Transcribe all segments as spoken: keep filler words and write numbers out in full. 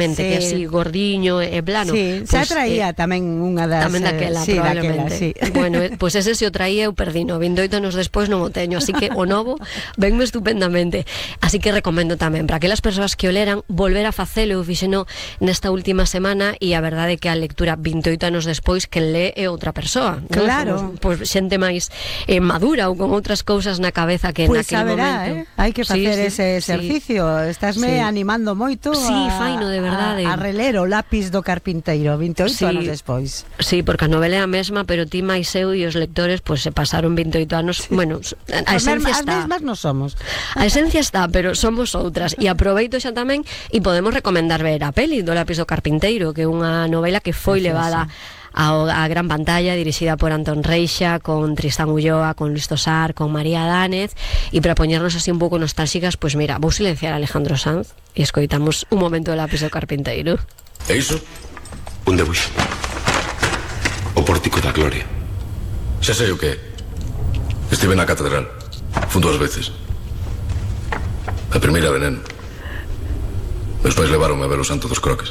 Sí. Que así gordiño e plano. Sí, pues, xa traía eh, tamén unha das... Tamén daquela, sí, probablemente. daquela, sí. Bueno, pois pues ese se o traía eu perdino, vinte e oito anos despois non o teño, así que o novo venme estupendamente. Así que recomendo tamén para aquelas persoas que o leran volver a facelo, eu fixeno nesta última semana e a verdade é que a lectura vinte e oito anos despois que lee é outra persoa. Claro. Pois pues, xente máis eh, madura ou con outras cousas na cabeza que pues naquele verá, momento. Eh? Hai que facer sí, ese exercicio. Sí. Estásme sí. animando moito sí, a, faino, de verdade. a, a reler o Lápis do Carpinteiro vinte e oito sí. anos despois. Sí, porque a novela é a mesma, pero ti máis eu e os lectores pues, se pasaron vinte e oito anos. Sí. Bueno, a esencia as está. As mesmas non somos. A esencia está, pero somos outras. E aproveito xa tamén e podemos recomendar ver a peli do Lápis do Carpinteiro, que é unha novela que foi Preciosa. levada a, a gran pantalla, dirixida por Antón Reixa, con Tristán Ulloa, con Luis Tosar, con María Dánez, e para poñernos así un pouco nostálgicas, pois pues mira, vou silenciar a Alejandro Sanz e escoitamos un momento do Lápis do Carpinteiro. E iso? Un debuxo. O Pórtico da Gloria. Xa sei o que é. Estive na catedral. Fun dúas veces. A primeira veneno. Meus pais levaronme a ver o Santo dos Croques.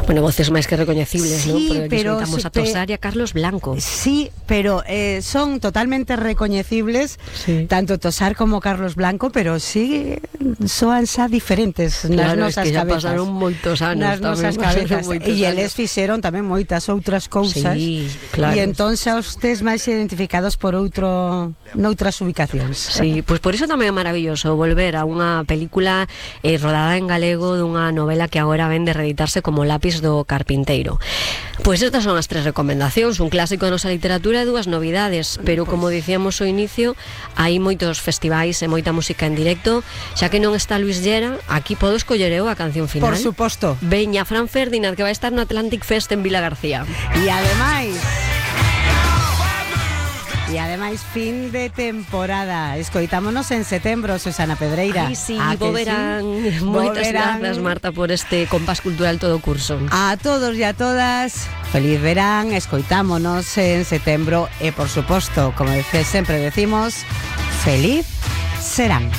Bueno, voces máis que recoñecibles, sí, ¿no? Porque aquí pero escoitamos a Tosar e a Carlos Blanco. Sí, pero eh, son totalmente recoñecibles, sí. tanto Tosar como Carlos Blanco, pero sí soan xa diferentes claro, nas nosas es que cabezas. Pasaron moitos anos nas nosas cabezas. E eles anos. fixeron tamén moitas outras cousas. Sí, claro. E entón xa os tes máis identificados por outro noutras ubicacións. Sí, pois pues por iso tamén é maravilloso volver a unha película eh, rodada en galego dunha novela que agora ven de reeditarse como Lápis do Carpinteiro. Pois estas son as tres recomendacións, un clásico da nosa literatura e dúas novidades, pero como dicíamos ao inicio, hai moitos festivais e moita música en directo, xa que non está Luis Llera, aquí podo escoller eu a canción final. Por suposto. Veña Fran Ferdinand, que vai estar no Atlantic Fest en Vila García. E ademais E ademais fin de temporada. Escoitámonos en setembro, Susana Pedreira. Ai, sí, bo verán. Sí? Moitas grazas, Marta, por este compás cultural todo curso. A todos e a todas, feliz verán, escoitámonos en setembro e, por suposto, como sempre decimos, feliz serán.